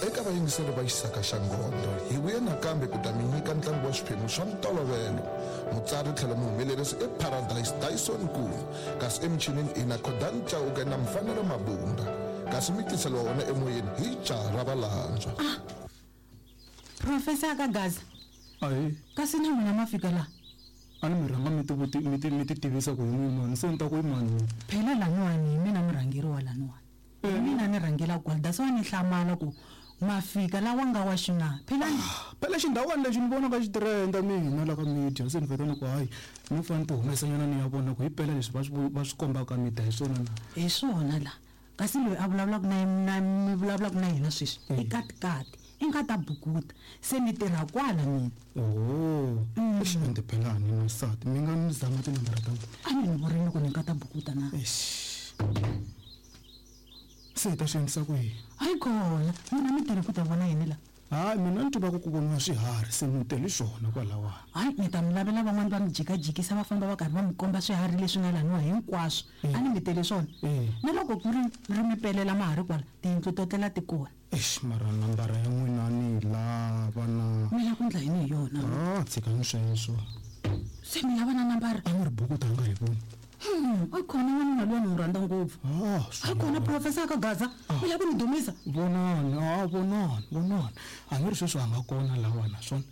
Eka vayingiseri va Xisaka xa Ngondo, hi vuye nakambe ku ta mi nyika ntlangu wa swiphemu swa ntolovelo. Mutsari tlhelo muhumelerisi i Paradise Dyson Nkuna, kasi emichinini i na Khodani Chauke na Mfanelo Mabunda. Kasi mi tiseliwa wona emoyeni hi jaha ra Valandzwa. Ah! Professor ka Gaza. Ahee. Kasi na n'wina ma fika la? A ni mi rhanga mi ti mi ti mi ti tivisa ku hi n'wi mani se ni ta ku i mani. Phela laniwani hi mina murhangeri wa laniwani. Hi mina ni rhangela kwala that's why ni hlamala ku ma fika lawa nga wa xina. Phela ni Phela xindhawani lexi ni vona ka xi trenda mina la ka media se ni vheta ni ku hayi ni fanele ni ti humesa nyana ni ya vona ku hi mpela leswi va swi va swi kombaka ka media hi swona na. Hi swona la. Kasi loyi a vulavulaka na na mi vulavulaka na yena sweswi i katikati i nga ta bukuta se ni tirha kwala mina. Oho eish ende phela a ni na nsati mi nga ni zama tinambara ta n'wina. A ni ni vurini ku ni nga ta bukuta na. Eish se hi ta swi endlisa ku yini? Hayi kona n'wina mi tele ku ta vona yini la? Hayi mina ni tiva ku ku voniwa swiharhi se ni tele swona kwalawani. Hayi ni ta mi lavela van'wani va mi jikajikisa va famba va karhi va mi komba swiharhi leswi nga laniwa hinkwaswo. A ni mi tele swona. Na loko ku ri ri mi pelela ma ha ri kwala tiyindlu to tlela ti kona. Eish mara nambara ya n'wina ni yi lava na. Mi lava ku endla yini hi yona? Ah tshikani sweswo. Se mi lava na nambara? A ni ri buku ta nga hi voni. A kona n'wanuna luya ni n'wi rhandza ngopfu. Ah, A kona professor ka Gaza. Mi lava ku ni dumisa? Vonani, ah vonani, vonani. A ni ri sweswi a nga kona lawa naswona.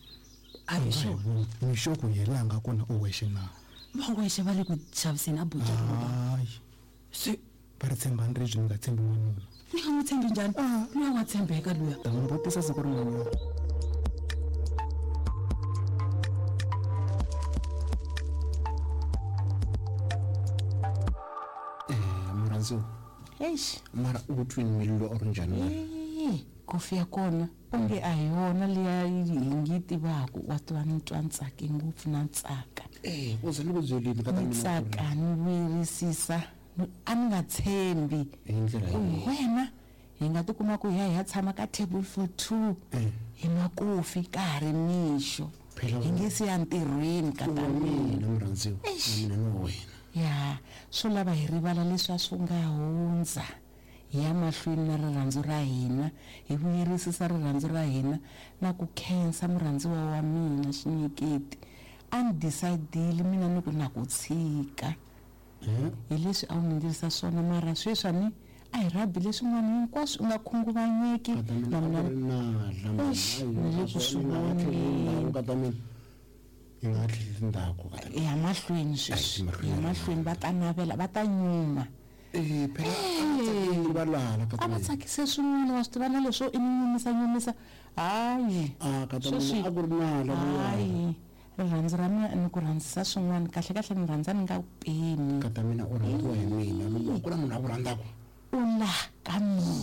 A hi swona. Mi sure ku yena a nga kona u wexe na? Va wexe va le ku xaviseni a bucha. Hayi. Se va ri tshembani ribye mi nga tshembi n'wanuna. Ni nga n'wi tshembi njhani? Luya wa tshembeka luya. Ta n'wi vutisa siku rin'wanyana. Murhandziwa Eish. mara u twini mbilu or njhani wena? Ee, kofi ya kona onge a hi yona liya hi ngi yi tivaka wa tiva ni twa ni tsake ngopfu na tsaka Eh, u ze ni ku byelini ka ta ni mina ku ri tsaka ni vuyerisisa a ni nga tshembi Hi ndlela ku yihi? wena hi nga tikuma ku hi ya hi ya tshama ka table for two hi nwa kofi ka ha ri mixo Phela hi nge se ya ntirhweni ka u ta wa mina mina murhandziwa na mina ni wa wena ya swo lava hi rivala leswi a swi nga hundza hi ya mahlweni na rirhandzu ra hina hi vuyerisisa rirhandzu ra hina na ku khensa murhandziwa wa mina xinyiketi a ni decide-ile mina ni ku na ku tshika hi leswi a wu ni ndlisa swona mara sweswi a ni a hi rhabi leswin'wana hinkwaswo u nga khunguvanyeki Ka ta mina na a ku mina ri nala Eish, ni le ku swi voneni. ka ta mina yi nga tlheleli ndzhaku ka ta mina ya mahlweni sweswi Ai, mahlweni. ya mahlweni va ta navela va ta nyuma Eh, phela a va tsakeli valala ka a ta va mina tsakise swin'wana wa swi tiva na leswo i ni nyumisa nyumisa hayi Ah, ka ta mina Sweswi- a ku ri nala luya. hayi rirhandzu ra mina ni ku rhandzisa swin'wana kahle kahle ni rhandza ni nga ku pimi ka ta mina u rhandziwa hi mina loko ku na munhu a ku rhandzaka u la ka mina.